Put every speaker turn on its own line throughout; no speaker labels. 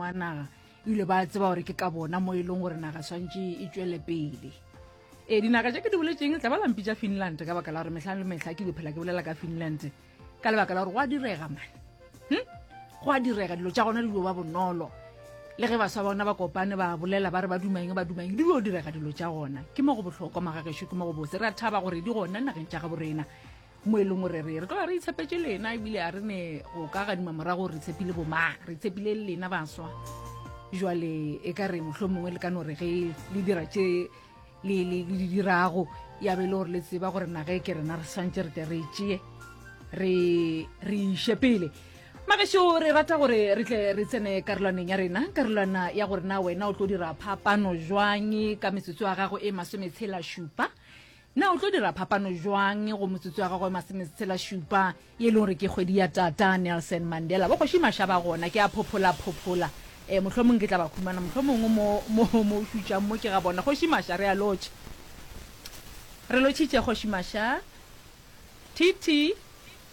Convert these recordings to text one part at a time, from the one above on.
maemo a naga ebile ba tseba gore ke ka bona mo e leng gore naga swantše e tšwele pele. Ee, dinaga tše ke di boletšeng tla ba la mpitša Finland ka baka la gore mehla le mehla ke dio phela ke bolela ka Finland ka lebaka la gore go a direga man. Hm? Go a direga dilo tša gona di dio ba bonolo. Le ge baswa bona ba kopane ba bolela ba re ba duma eng ba duma eng di dio direga dilo tša gona. Ke mo go bohlokwa magagešo ke mo go bose. Re a thaba gore di gona nageng tša gabo rena mo e leng gore re re tloga re itshepetše lena ebile a re ne go ka gadima morago re tshepile bomang re tshepile le lena baswa jwale e ka re mohlho mongwe le ka no re ge le dira tše le le di dirago ya be le gore le tseba gore naga e ke rena re swantse re tle re e tšee re re iše pele magešo re rata gore re tle re tsene karolwaneng ya rena karolwana ya gore na wena o tlo dira phapano jwang ka metsotso ya gago e masometshela šupa Na o tlo dira phapano jwang go motsotso wa gagwe masometshela-šupa, ye e leng gore ke kgwedi ya Tata Nelson Mandela? Bo Kgoši Maša ba gona, ke a phophola-phophola. E, mohlomong ke tla ba humana, mohlomongwe mo, mo, mo o šutšang mo ke ga bona. Kgoši Maša, re a lotšha. Re lotšhitše, Kgoši Maša. TT.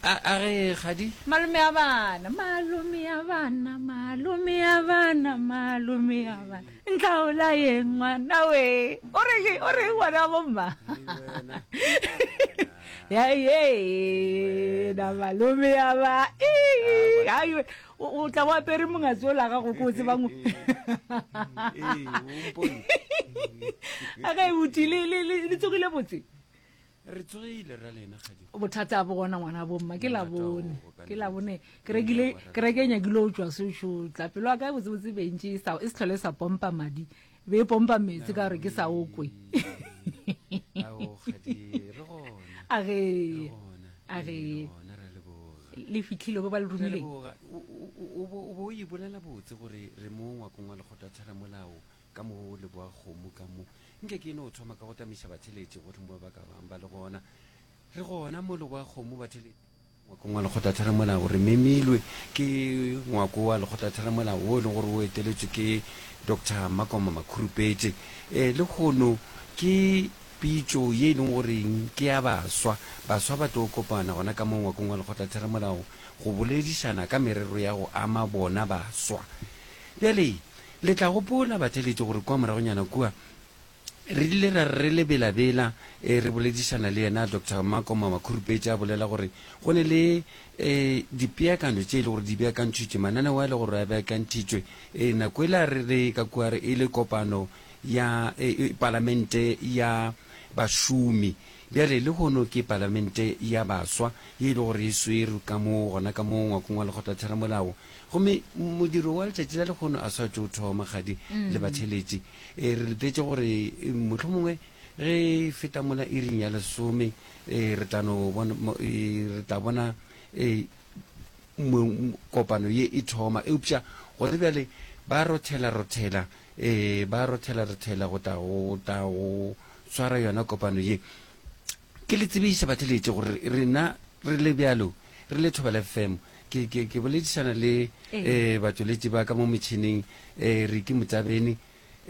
A, a re, Kgadi?
Malome a bana, malome a bana, malome a bana, malome a bana. Ntlaola ye ngwana we. O re o re ngwana wa bomma. Ya ye na malome a ba. Ai o tla bo apere mongatsi o la gago ko o tsebang.
Ee, o mpone.
A ga e buti le le le tsogile botse.
Re tsogile ra lena kgadi.
Bothata bo gona ngwana bomma ke la bone ke la bone ke rekile ke reke nyakile o tšwa sešo tla pelo ya ka botse botse bentše e sa e se tlhole sa pompa madi be e pompa metsi ka gore ke sa okwe.
Ao kgadi re gona.
A ge a ge le fitlhile ba ba le romileng.
O bo o e bolela botse gore re mo ngwakong wa lekgotla thera molao ka mo leboa kgomo ka mo Nke ke no thoma ka go tamiša batheeletši gohle mo ba ka bang ba le gona. Re gona mo Leboakgomo, batheeletši, ngwakong wa Lekgotlatheramolao. Re memilwe ke ngwako wa Lekgotlatheramolao wo e leng gore o eteletšwe ke Doctor Makoma Makhurupetše. E, lehono ke pitšo ye e leng goreng ke ya baswa. Baswa ba tlo kopana gona ka mo ngwakong wa Lekgotlatheramolao go boledišana ka merero ya go ama bona baswa. Bjale, Le tla gopola, batheeletši, gore kua moragonyana kua, re ile ra re re le belabela, e, re boledišana le yena Doctor Makoma Makhurupetše, a bolela gore go ne le, e, dipeakanyo tše e le gore di beakantšhitšwe, mananeo a e le gore a beakantšhitšwe. E, nako ela re re ka kua re e le kopano ya, e, e, palamente ya bašomi. Bjale, lehono ke palamente ya baswa ye e le gore e swerwe ka mo, gona ka mo ngwakong wa Lekgotlatheramolao. Gomme modiro wa letšatši la lehono a sa tšo thoma, kgadi le batheletši. E, re letetše gore e, mohlomongwe ge e feta mola iring ya lesome, e, re tla no bona, e, re tla bona e, kopano ye e thoma. Eupša gona bjale ba rothela-rothela, e, ba rothela-rothela go tla go tla go swara yona kopano ye. Ke le tsebiša batheletši gore rena re le bjalo, re le Thobela FM, ke, ke, ke boledišana le eh, batšweletši ba ka mo metšhineng eh, Ricky Motsabeni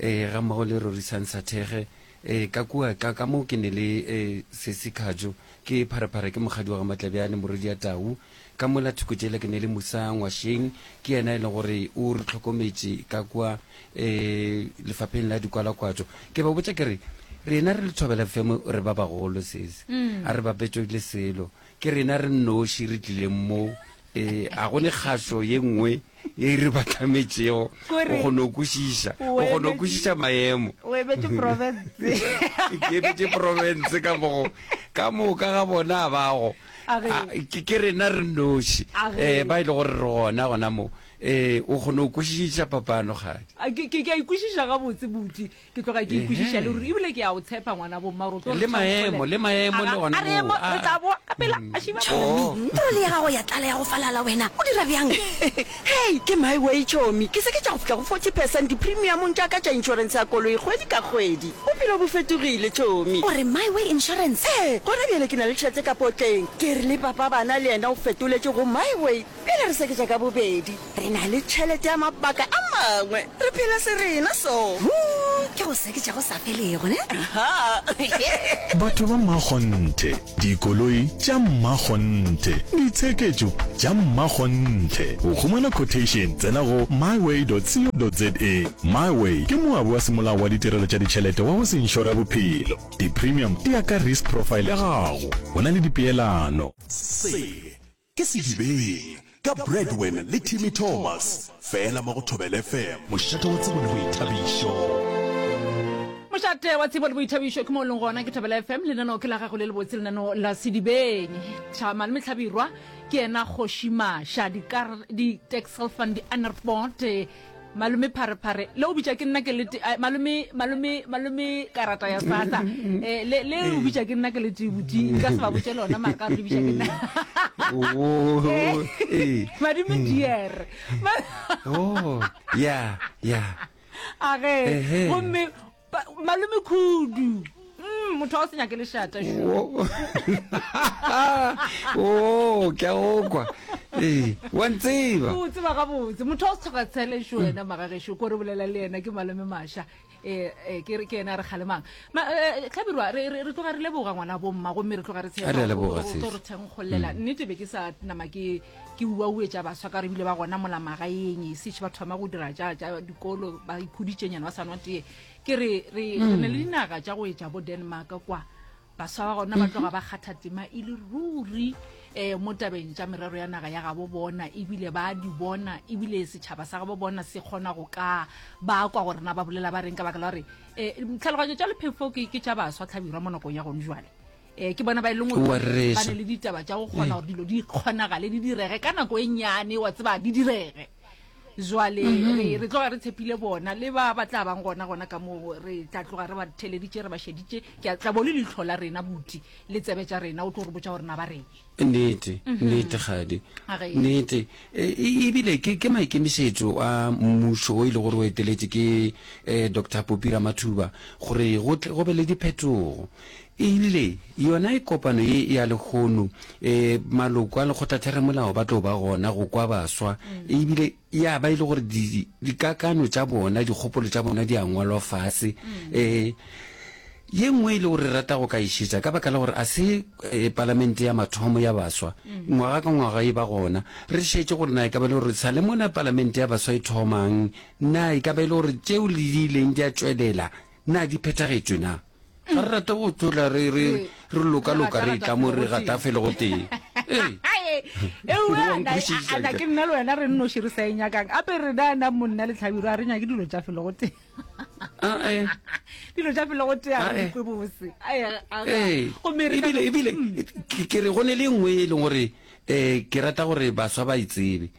eh, ga mmogo le Rorisang Sathege eh, ka kua ka, ka mo ke ne le eh, Sesi Khajo ke pharephare ke mokgadi wa ga Matlabjane morwedi ya Tau ka mola thoko tšela ke ne le Musa Ngwasheng ke yena e leng gore o re hlokometše ka kua eh, lefapheng la dikwalakwatšo ke ba botša ke re rena re le Thobela FM re ba bagolo sesi a re bapetšwe le selo Ke rena re nnoši re tlileng mo. E, a go ne kgašo ye nngwe ye e re batlametšego. O kgona go kwešiša, o kgona go kwešiša maemo.
O emetše province.
Ke emetše province ka mogo, ka moka ga bona a bago. Ke, ke rena re nnoši e, ba e le gore re gona gona mo. E, o kgona go kwešiša phapano, kgadi.
Ke, ke, ke a e kwešiša gabotse, buti. Ke tloga ke ikwešiša le ruri ebile ke a o tshepa ngwana bomma gore o tlo
Le maemo, le maemo le gona
A re
moo.
re tla boa ka pela a šiba.
Tšhomi, troli ya gago ya tlala ya go falala wena, o dira bjang?
Hei, ke my way tšhomi, ke se ke tša go fihla go 40 percent dipremiamong tša ka tša inšorense ya koloi kgwedi ka kgwedi. Bophelo bo fetogile tšhomi.
O re my way insurance?
Ee, gona bjale ke na le tšhelete ka potleng. Ke re le papa bana le yena o fetoletše go my way. Bjale re seketša ka bobedi. Re na le tšhelete ya mabaka a mangwe. Re phela se rena so.
Huu! Ke go seketša go sa felego, ne?
Batho ba mmakgonthe, dikoloi tša mmakgonthe, ditsheketšo tša mmakgonthe. Go humana quotation, tsena go myway.co.za. MyWay ke moabi wa semolao wa ditirelo tša ditšhelete wa go se inšore bophelo. Di-premium di ya ka risk profile ya gago. Go na le dipeelano.
Se ke Sedibeng ka Bradwin le Timmy Thomas, fela mo go Thobela FM.
Mošate wa tsebo le boithabišo.
Mošate wa tsebo le boithabišo ke mo o leng gona ke Thobela FM, lenaneo ke la gago le lebotse, lenaneo la Sedibeng. Tšha Malome Hlabirwa ke yena kgoši Maša, dikar, di-Texel van die Anerpoort, Malome Pharephare, le o bitša ke nna ke le malome, malome, malome karata ya sasa. Eh, le le o bitša ke nna ke le tee buti, nka se ba botše lona mara ka gore le bitša ke nna.
Oh, eh.
Madime dear.
Oh, ya, ya.
A ge,
Ehe.
gomme Malome Khudu. Mm, motho wa go se nyake lešata šo.
Oh, ke a go kwa. Ee, wa ntseba.
O tseba gabotse. Motho wa go se tlhoka tshele šo wena magagešo, ko re bolela le yena ke Malome Masha. Eh, eh, ke ke yena a re kgalemang. Ma, eh, Hlabirwa, re, re, re tloga re leboga ngwana bomma gomme re tloga re tshepa
Re a leboga,
o
sis.
tlo re thenkgollela. Nnete be ke sa nama ke ke uauetša baswa ka re bile ba gona mola magaeng e sešo ba thoma go dira tša tša dikolo ba ikhuditšenyana ba sa nwa tee. Ke re re re ne le dinaga tša go etša bo Denmark kwa baswa ba gona ba tloga ba kgatha tema e le ruri um mo tabeng tša merero ya naga ya gabo bona ebile ba di bona ebile setšhaba sa gabo bona se kgona go ka ba kwa gore na ba bolela ba reng ka baka la gore um tlhaloganyo tša lephefo ke ke tša baswa tlhabirwa mo nakong ya gone jwale um ke bona ba e leng
Wa
gore ba
rereša.
ne le ditaba tša go kgona gore dilo di kgonagale di direge ka nako e nnyane wa tseba di direge Jwale re, re tloga re tshepile bona le ba ba tla bang gona gona ka moo re tla tloga re ba theleditše re ba šeditše. Ke a tla bo le leihlo la rena buti le tsebe tša rena o tlo re botša gore na ba reng.
Nnete, nnete kgadi.
A ge.
Nnete. E, e, ebile ke, ke maikemišetšo a mmušo o e le gore o eteletše ke eh, Doctor Popi Ramathuba gore go tle go be le diphetogo. Ebile yona e kopano ye ya lehono, e, maloko a lekgotlatheramolao ba tlo ba gona go kwa baswa, ebile ya ba e le gore di, dikakano tša bona, dikgopolo tša bona di a ngwalwa fase. E, ye nngwe e le gore re rata go ka e šetša ka baka la gore a se e, palamente ya mathomo ya baswa, ngwaga ka ngwaga e ba gona. Re šetše gore na e ka ba e le gore sa le mona palamente ya baswa e thomang, na e ka ba e le gore tšeo le di ileng di a tšwelela, na di phethagetšwe na? Ga re rate go tlola re re re loka loka re tla mo re gata felo go tee. Ee.
Ewa ke nna le wena re nnoši re sa e nyakang. Ape re na na monna le tlhabiro a re nyake dilo tša felo go tee.
Ah, eh.
Dilo tša felo go tee a
Ah,
re
eh.
kwe bose.
Ee.
Gomme re
Ebile ebile ke ke re go ne le nngwe e leng gore eh ke rata gore baswa ba e tsebe.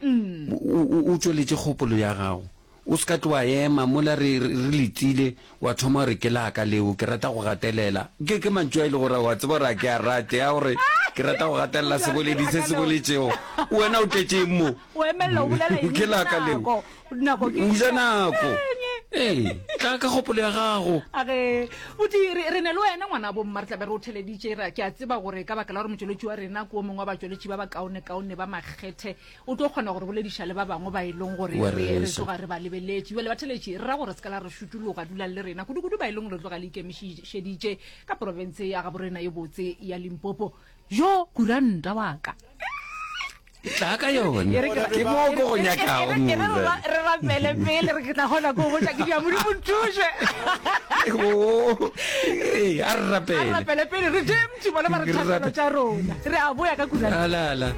O o- o tšweletše kgopolo ya gago. O se ka tlo wa ema mola re, re, re letile, wa thoma gore ke la ka leo, ke rata go gatelela. Ke, ke mantšu a e le gore wa tseba gore a ke a rate, a gore ke rata go gatelela seboledi se se boletšego. Wena o tletše eng mo?
O emelela o bolela eng?
Ke la ka leo.
Nako, nako ke.
O ja nako. Ee, tla ka kgopolo ya gago.
A re, Buti, re, re ne le wena ngwana bomma, re tla be re o theleditše. Ra, ke a tseba gore ka baka la gore motšweletši wa rena ke o mongwe wa batšweletši ba bakaonekaone ba makgethe, O tlo kgona go re bolediša le ba bangwe ba e leng gore
Wa
re, re
rereša.
tloga re ba lebeletše. Bjale batheletši, re ra gore se ka la re šutologa, dulang le rena, kudu-kudu ba e leng gore le tloga le ikemišeditše ka profense ya gaborena ye botse ya Limpopo. Jo, kuranta wa ka!
Tla ka yone.
E re ke-
Ke mo ko go
e re-
nyakago
e re- e re
mo.
re re rapele pele re ke tla kgona ko botša ke dia Modimo nthuše.
Oh, ee, a re
A re
rapele.
rapele pele re tšee motho bona ba re
Re
thapelo
rape-
tša rona. Re a boya ka kuranta.
Ala, ala.